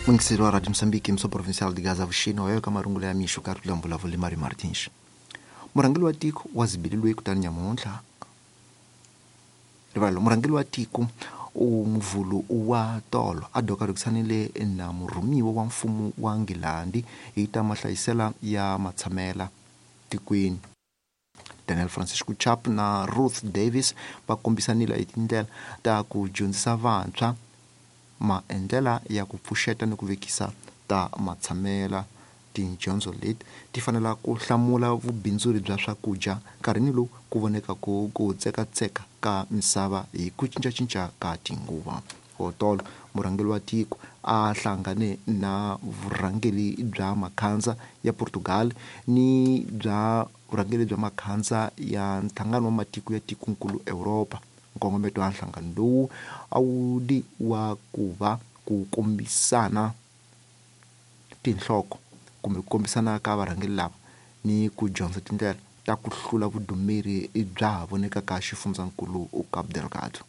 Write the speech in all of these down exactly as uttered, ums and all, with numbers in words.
Mungiseri wa Radio Mozambique, emissão provincial de Gaza Vuxeni, wa ka marungulo ya mixo ka rula mbulavulo Mari Martins. Murhangeri wa tiko wa zibililwe kutani nyamuntlha rivalo murhangeri wa tiko u muvhulu wa tolo a doka lwisanile na murhumiwa wa mfumo wa Nghilandhi hi ta mahlayisela ya matshamela tikweni. Daniel Francisco Chap na Ruth Davis va kombisanile hi tindlela ta ku dyondzisa vantshwa maendlela ya ku pfuxeta ni ku vekisa ta matshamela. Tidyondzo leti ti fanela ku hlamula vubindzuri bya swakudya nkarhini lowu ku voneka ku ku tsekatseka ka misava hi ku cincacinca ka tinguva. Hotolo murhangeri wa tiko a hlangane na vurhangeri bya makhandza ya Portugal ni bya vurhangeri bya makhandza ya nhlangano wa matiko ya tikonkulu Europa. Nkongometo wa nhlangano lowu a wu li wa ku va ku kombisana tinhloko kumbe ku kombisana ka varhangeri lava ni ku dyondza tindlela ta ku hlula vudumeri bya ha vonekaka xifundzankulu Cabo Delgado.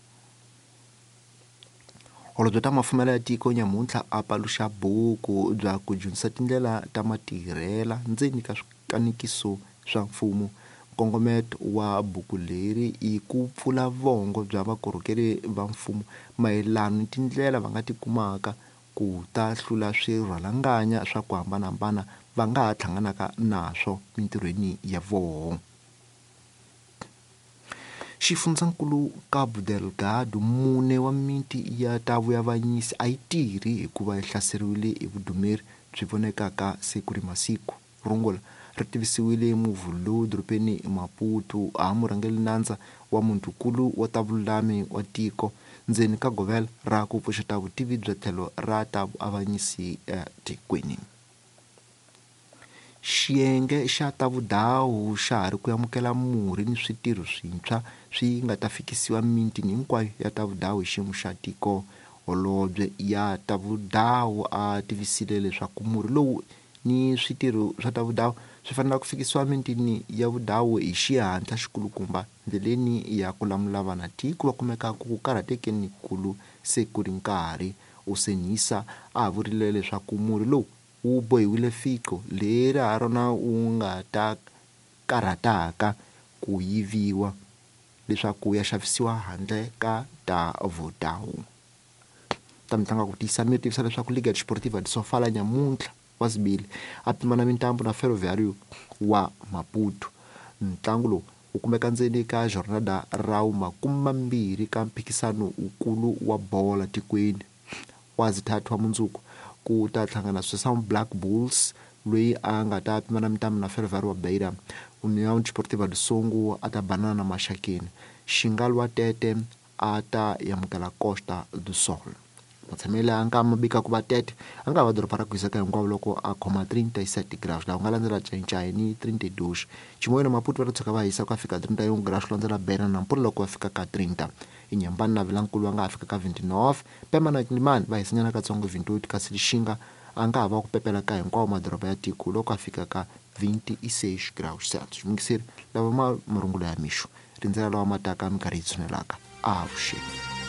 Holobye ta mafumelo ya tiko nyamuntlha a paluxa buku bya ku dyondzisa tindlela ta matirhela ndzeni ka swikanikiso swa mfumo. Nkongometo wa buku leri i ku pfula vongo bya vakorhokeri va mfumo mayelana ni tindlela va nga ti kumaka ku ta hlula swirhalanganya swa ku hambanahambana va nga ha hlanganaka naswo mintirhweni ya voho. Xifundzankulu Cabo Delgado mune wa miti ya ta vuavanyisi a yi tirhi hikuva yi hlaseriwile hi vudumeri byi vonekaka siku ri masiku. Rungula ri tivisiwile muvhulu dorobeni Maputo a murhangeri nandza wa muntukulu wa ta vululami wa tiko ndzeni ka govela ra ku pfuxeta vutivi bya tlhelo ra ta vuavanyisi etikweni. Xiyenge xa ta vudawu xa ha ri ku amukela murhi ni switirho swintshwa swi nga ta fikisiwa mitini hinkwayo ya ta vudawu hi xiyimo xa tiko. Holobye ya ta vudawu a tivisile leswaku murhi lowu ni switirho swa ta vudawu swi fanele ku fikisiwa mitini ya vudawu hi xihatla xikulukumba ndleleni ya ku lamula vana tiko va kumeka ku karhatekeni kulu se ku ri nkarhi. Usenisa a vurile leswaku murhi lowu wu bohiwile fiqo leri ha rona wu nga ta karhataka ku yiviwa leswaku ya xavisiwa handle ka ta vudawu. Ta mitlangu ku tiyisa mi tivisa leswaku Liga Desportiva de Sofala nyamuntlha wa Zibili a pimana mintambo na Ferroviário wa Maputo. Ntlangu lowu wu kumeka ndzeni ka jornada ra makume mambirhi ka mphikisano wukulu wa bola tikweni. Wa zithathu wa mundzuku ku ta hlangana Sesam Black Bulls loyi a nga ta pimana mintambo na Ferroviário wa Beira. União Desportiva do Songo a ta banana na Maxakeni. Xingalwa Tete a ta amukela Costa do Sol. Matshamele a nga mabika ku va Tete a nga va doroba ra ku hiseka hinkwavo loko a khoma trinta e sete graus laha ku nga landzela Xai-Xai ni trinta e dois. Chimoio na Maputo va ta tshuka va hisa ku ya fika trinta e um graus ku landzela Beira na Nampula loko va fika ka trinta. Inhambane na Vilankulu va nga ha fika ka vinte e nove. Pemba na Quelimane va hisanyana katsongo vinte e oito, kasi Lixinga a nga ha va ku pepela ka hinkwawo madoroba ya tiko loko a fika ka vinte e seis graus Celsius. Mungiseri lava ma marungulo ya mixo rindzela lawa ma taka minkarhi yi tshunelaka. Avuxeni.